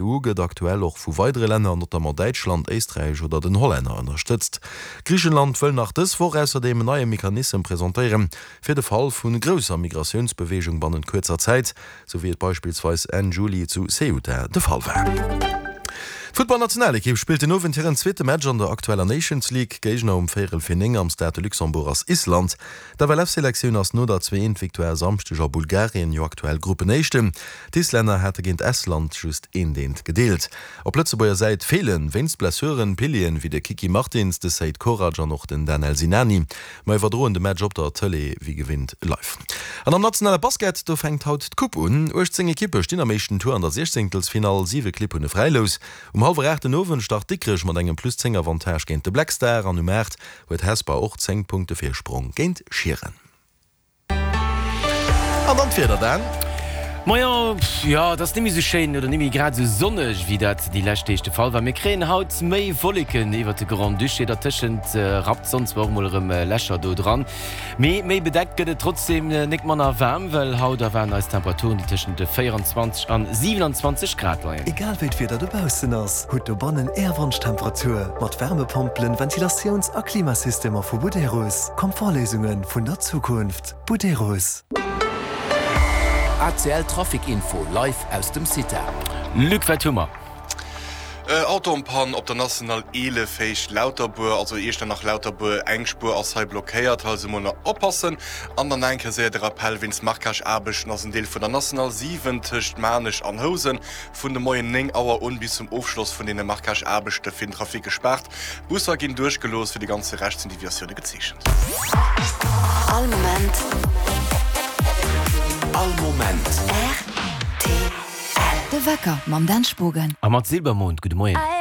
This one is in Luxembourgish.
EU gëtt aktuell och vu weidere Länner, notamment Däitschland, Éisträich oder den Hollänner ënnerstëtzt. Griichenland wëll nach dës Woch ausserdeem en neie Mechanissem presentéieren, fir de Fall vu grousser Migratiounsbeweegung bannent kuerzer Zäit, sou wéi et beispillsweis Enn Juli zu Ceuta de Fall war. D'Futtballnationalekipp spillt den Owend hiren zweete Match an der aktueller Nations League. Géigner um véierel fir 9 am Stade de Luxembourg ass Island. D'FLF-Selektioun ass no der 2 Eent Victoire e Samschdeg a Bulgarien jo aktuell Gruppenéischten. D'Islänner hate géint Estland just eent Eent gedeelt. Op Lëtzebuerger Säit feelen wéinst Blessuren Pilieren wéi de Kiki Martins, de Seid Korac an och den Danel Sinani. Mer iwwerdroen de Match op der Tëlee wéi gewinnt live. An am nationale Basket, do fänkt haut d'Coupe un. 18 Ekippe stinn am éischten Tour an der Siechzéngtelsfinall, 7 Clibb hunn e Fräilous. Um hallwer 8 den Owend start Dikrech mat engem plus 10 Avantage géint de Black Star an um 8 huet Hesper och 10 Punkte Virsprong géint Schieren. An dann d'Wieder, Dan. Moien, jo et ass nemmi sou schéin oder nemmi grad sou sonneg wéi dat déi lescht Deeg de Fall war. Mir kréien haut méi Wolleken iwwert de Grand-Duché, dertëschent rappt d'Sonn zwar och mol erëm Lächer do dran, mee méi bedeckt gëtt et trotzdeem nek manner waarm, well haut erwaarden eis Temperaturen déi tëschent 24 an 27 Grad leien. Egal wéi d'Wieder dobaussen ass, hutt dobannen Är Wonschtemperatur mat Wärmepompelen, Ventilatiouns a Klimasystemer vu Buderus. Komfortléisunge vun der Zukunft. Buderus. ACL Trafic Info live aus dem CITA. Luc, wat hu mer? Auto en Panne op der National 11 Héicht Lauterbuer, also Iechternach-Lauterbuer. Eng Spuer ass hei blockéiert, hei also mol nach oppassen. An dann nach eng Kéier séier de Rappell, Wéinst Marquage-Aarbechten ass en Deel vun der National 7 tëscht Maarnech an Housen vun de Moien 9 Auer un bis zum Ofschloss vun deene Marquage-Aarbechte fir den Trafic gespaart. Busser ginn duerchgelooss, fir de ganze Rescht sinn Deviatioune gezeechent. All Moment. All Moment. Rtl. De Wecker mam Dan Spogen. A mat Silbermond. Gudde Moien.